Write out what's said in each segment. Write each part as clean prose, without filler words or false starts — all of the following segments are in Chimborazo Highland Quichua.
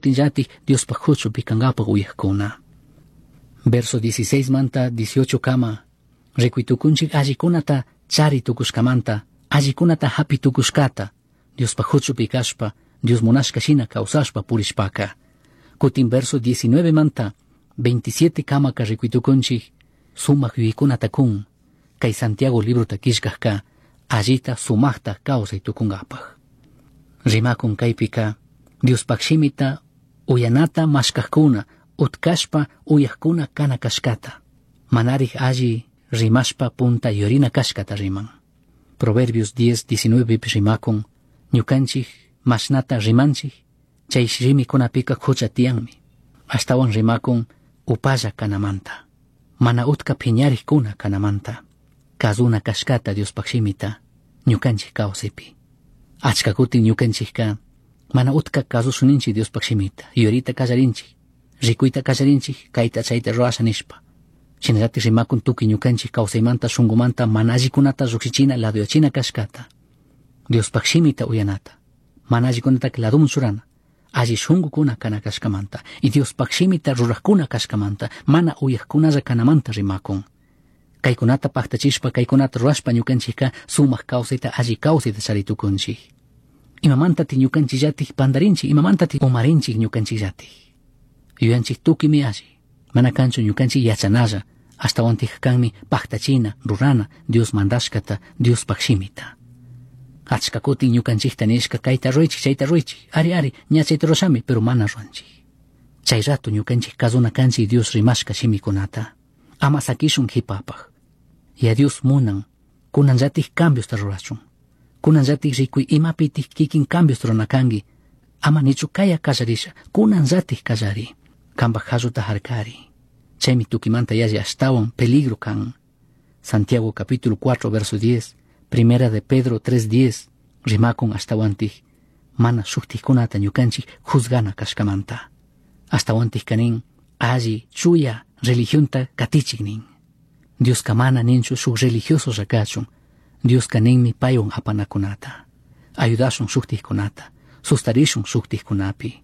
Kutinllatik Diospaj huchupi kankapak uyajkuna. Verso 16 manta 18 kama rikuy tukunchik allikunata chari tukushkamanta, allikunata hapi tukushkata, Diospaj huchupi kashpa, Dios munashka shina kawsashpa purishpaka. Kutin verso 19 manta 27 kamaka rikuy tukunchik sumak yuyaykunata kun, kay Santiago librota killkajka allita sumajta kawsay tukunkapaj. Rimakun kaypika Diospaj shimita uyanata mashkajkuna, utkashpa uyajkuna kana kashkata. Manarij alli rimashpa punta yurina kashkata riman. Proverbios 10, 19 rimakun, ñukanchik mashnata rimanchik, chay shimikunapika hucha tiyanmi. Ashtawan rimakun upalla kanamanta. Mana utka phiñarikkuna kanamanta. Kazuna kashkata Diospaj shimita, ñukanchik kawsaypi. Achka kutin ñukanchikka mana utka kasushunninchik Diospaj shimita, yurita kallarinchik, rikuyta kallarinchik, kayta chayta rurasha nishpa. Shinallatik rimakun tukuy ñukanchik kawsaymanta shunkumanta mana allikunata llukshichina ladoyachina kashkata. Diospaj shimita uyanata, mana allikunataka ladoman churana, alli shunkukuna kana kashkamanta, y Diospaj shimita rurajkuna kashkamanta, mana uyajkunalla kanamanta rimakun. Kaykunata paktachishpa, kaykunata rurashpa ñukanchikka sumak kawsayta alli kawsayta chari tukunchik. Imamantati ñukanchikllatik pandarinchik, imamantati umarinchik ñukanchikllatik. Yuyanchik tukuymi alli, mana kanchu ñukanchik yachanalla, ashtawantik kanmi paktachina, rurana, Dios mandashkata, Diospaj shimita. Achka kutin ñukanchikta nishka kayta ruraychik, chayta ruraychik, ari ari, ña chayta rurashami, pero mana ruranchik. Chay rato ñukanchik kasuna kanchik Dios rimashka shimikunata. Ama sakishun qhipapaj. Ya Dios munan, kunanllatik cambiosta rurachun. Kunanllatik rikuy imapitik kikin cambios rurana kanki. Ama nichu kaya kallarisha, kunanllatik kallari. Kanpaj qalluta harkari. Chaymi tukimanta yalli ashtawan peligro kan. Santiago capítulo 4 verso 10, Primera de Pedro 3:10, rimakun ashtawantik, mana shuktikkunata ñukanchik juzgana kashkamanta. Ashtawantik kanin, alli, chuya, religionta katichik nin. Dioska mana ninchu shuk religioso kachun. Dioska ninmi paywan apanakunata. Ayudashun shuktikkunata, sustarishun shuktikkunapi.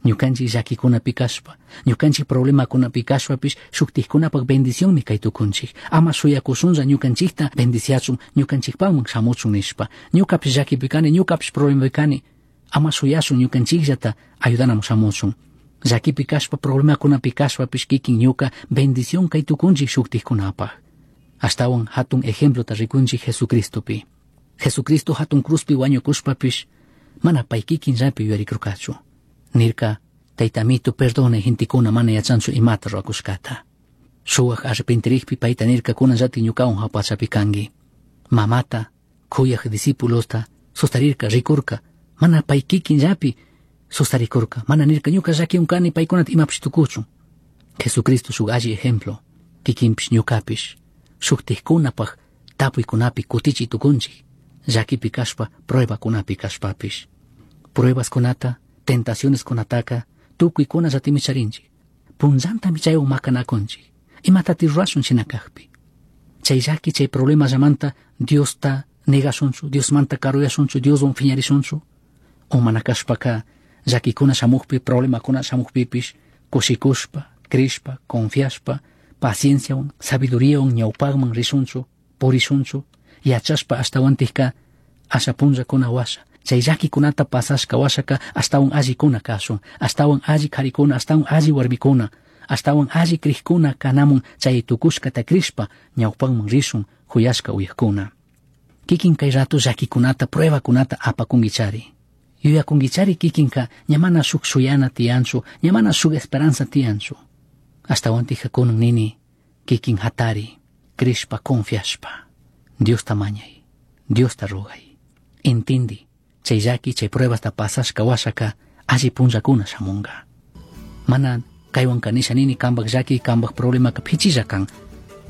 Ñukanchik llakikunapi kashpa, ñukanchik problemakunapi kashpapish shuktikkunapak bendicionmi kay tukunchik. Ama shuyakushunlla ñukanchikta bendiciachun, ñukanchikpakman shamuchun nishpa. Ñukapish llakipi kani, ñukapish problemapi kani. Ama shuyashun ñukanchikllata ayudanaman shamuchun. Llakipi kashpa, problemakunapi kashpapish kikin ñuka bendición kay tukunchik shuktikkunapaj. Ashtawan hatun ejemplota rikunchik Jesucristopi. Jesucristo hatun cruzpi wañukushpapish mana pay kikinllapi yuyarikurkachu. Nirka, Taytamito, perdone gentekuna mana yachanchu imata rurakushkata. Shuwak arrepentirikpi payta nirka kunanllatik ñukawan jahua pachapi kanki. Mamata, kuyaj discípulosta, sustarirka, rikurka, mana pay kikinllapi sustarikurka, mana nirka ñuka llakiwan kani paykunata imapish tukuchun. Jesucristo shuk alli ejemplo, kikinpish ñukapish, shuktikkunapaj tapuykunapi kutichi tukunchik, llakipi kashpa, pruebakunapi kashpapish. Pruebaskunata, tentacioneskunataka tukuykunallatimi charinchik. Punllantami chaywan makanakunchik. Imatati rurashun shina kajpi. Chay llaki, chay problemallamanta Diosta negashunchu, Diosmanta karuyashunchu, Dioswan phiñarishunchu. O mana kashpaka llakikuna shamukpi, problemakuna shamukpipish, kushikushpa, crishpa, confiashpa, pacienciawan, sabiduriawan ñawpakman rishunchu, purishunchu, yachashpa ashtawantikka asha punllakuna washa. Chay llakikunata pasashka washaka ashtawan allikuna kashun, ashtawan alli karikuna, ashtawan alli warmikuna, ashtawan alli crijkuna kanamun chay tukushkata crishpa ñawpakman rishun huyashka uyajkuna. Kikin kay rato llakikunata, pruebakunata apakunkichari. Yuyakunkichari kikinka ña mana shuk shuyana tiyanchu, ña mana shuk esperanza tiyanchu. Ashtawantika kunan nini, kikin hatari, crishpa, confiashpa. Diosta mañay, Diosta rogay. Intindi, chay llaki, chay pruebasta pasashka washaka, alli punllakuna shamunga. Mana kaywanka nisha nini kanpak llaki, kanpak problemaka pichilla kan.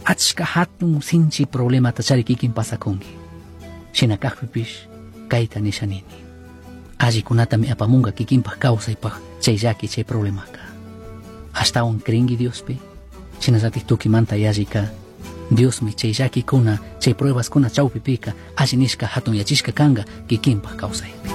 Achka hatun sinchi problemata chari kikin pasakunki. Shina kajpipish, kayta nisha nini. Allikunatami apamunga kikinpak kawsaypak chay llaki, chay problemaka. Ashtawan crinki Diospi, shinallatik tukimanta yallika, Diosmi chay llakikuna, chay pruebaskuna chawpipika, alli nishka hatun yachishka kanka kikinpak kawsaypi.